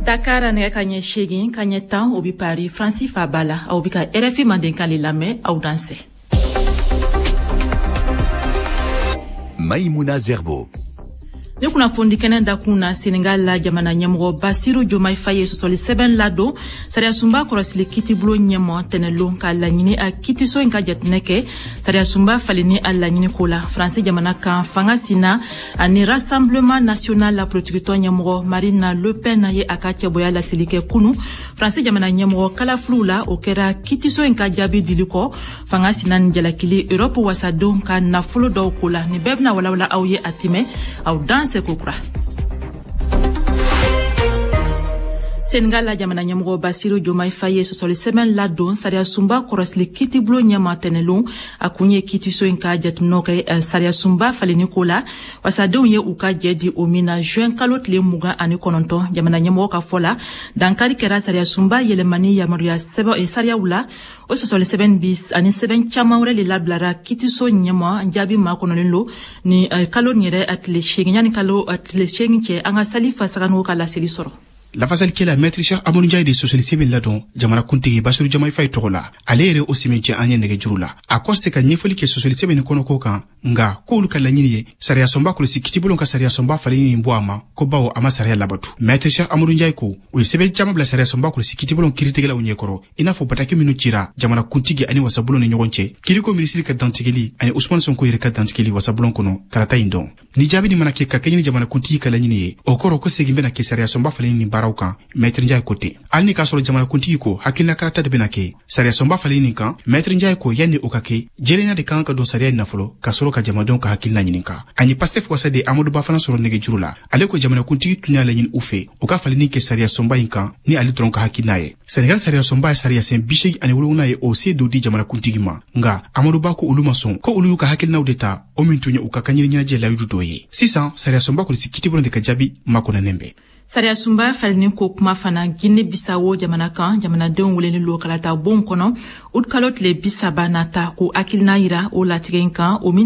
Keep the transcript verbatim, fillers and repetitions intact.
Dakar nɛgɛ ka ɲɛ seegin ka ɲɛ tan, o bi Paris, Faransi faaba la. Aw bi ka R F I Mandenkan le lamɛn. Aw dansɛ. Maïmouna Zerbo. Ni kunnafoni kɛnɛ dakun na, Senegal la, jamana ɲɛmɔgɔ Basiru Jomai Faye ye sɔsɔli sɛbɛn ladon sariyasunba kɔrɔsili kitibulon ɲɛmɔ tɛnɛlon, ka laɲini a kitiso in ka jatinɛ kɛ sariyasunba falenni a laɲini ko la. Faransi jamana kan, fanga sina ani Rassemblement national la politikitɔn ɲɛmɔgɔ Marine Le Pen ye a ka cɛbɔya laseli kɛ kunu Faransi jamana ɲɛmɔgɔ kalafiliw la. O kɛra kitiso in ka jaabi dili kɔ fanga sina ni jalakili Europe wasadenw ka nafolo dɔw ko la. Nin bɛɛ bɛna walawala aw ye a timɛ. Aw dan seko kura. Senegal la, jamana ɲɛmɔgɔ Basiru Jomai Faye ye sɔsɔli sɛbɛn ladon sariyasunba kɔrɔsili kitibulon ɲɛma tɛnɛlon. A kun ye kitiso in ka jateminɛw kɛ sariyasunba falenni ko la, wasadenw ye u ka jɛ di o min na juin kalo tile mugan ani kɔnɔntɔn. Jamana ɲɛmɔgɔ ka fɔ la, dankari kɛra sariyasunba yɛlɛmani yamaruya sɛbɛn sariyaw la. O sɔsɔli sɛbɛn bi ani sɛbɛn caman wɛrɛ de labilara kitiso ɲɛma. Jaabi makɔnɔlen lo ni kalo nin yɛrɛ tile seegin, yanni kalo tile seegin cɛ. An ka Salifa Saganogo ka laseli sɔrɔ. Lafasalikɛla Maître Cheikh Amadou Ndiaye de sɔsɔli sɛbɛn ladon jamana kuntigi Basiru Jamayi Faye tɔgɔ la. Ale yɛrɛ o sɛmɛncɛ an ye nɛgɛjuru la. A kɔ se ka ɲɛfɔli kɛ sɔsɔli sɛbɛn nin kɔnɔko kan, nga k'olu ka laɲini ye sariyasɔnba kɔlɔsi kitibulon ka sariyasɔnba falenni nin bɔ a ma, ko bawo a ma sariya labatu. Maître Cheikh Amadou Ndiaye ko u ye sɛbɛn caman bila sariyasɔnba kɔlɔsi kitibulon kiiritigɛlaw ɲɛkɔrɔ, i n'a fɔ bataki minnu cira jamana kuntigi ani wasabulon ni ɲɔgɔn cɛ, kiriko minisiri ka dantigɛli ani Usumani Sonko yɛrɛ ka dantigɛli wasabulon kɔnɔ kalata in dɔn. Ni jaabi nin mana kɛ ka kɛɲɛ ni jamana kuntigi ka laɲini ye, o kɔrɔ ko segin bɛna kɛ sariyasɔnba falenni nin baaraw kan. Maître Ndiaye ko ten, hali ni k'a sɔrɔ jamana kuntigi ko hakilina kalata de bɛna kɛ sariyasɔnba falenni nin kan, Maître Ndiaye ko yanni o ka kɛ, jɛlenya de kan ka don sariya in na fɔlɔ, ka sɔrɔ ka jamanadenw ka hakilina ɲininka. Ani Pastef wasaden Amadu Ba fana sɔrɔ nɛgɛjuru la. Ale ko jamanakuntigi tun y'a laɲini u fɛ u ka falenni kɛ sariyasɔnba in kan ni ale dɔrɔn ka hakilina ye. Senegal sariyasɔnba ye sariyasen bi seegin ani wolonwula ye, o se dɔ di jamanakuntigi ma, nga Amadu Ba ko olu ma sɔn, ko olu y'u ka hakilinaw de ta, o min tun ye u ka kanɲini ɲɛnajɛ layidu dɔ ye. Sisan sariyasɔnba kɔlɔsi kitibulon de ka jaabi makɔnɔnen bɛ. Sariyasunba falenni ko kuma fana, Guinée Bisawo jamana kan, jamanadenw welelen lo kalata bon kɔnɔ utikalo tile bi saba nata ko hakilina yira o latigɛ in kan, o min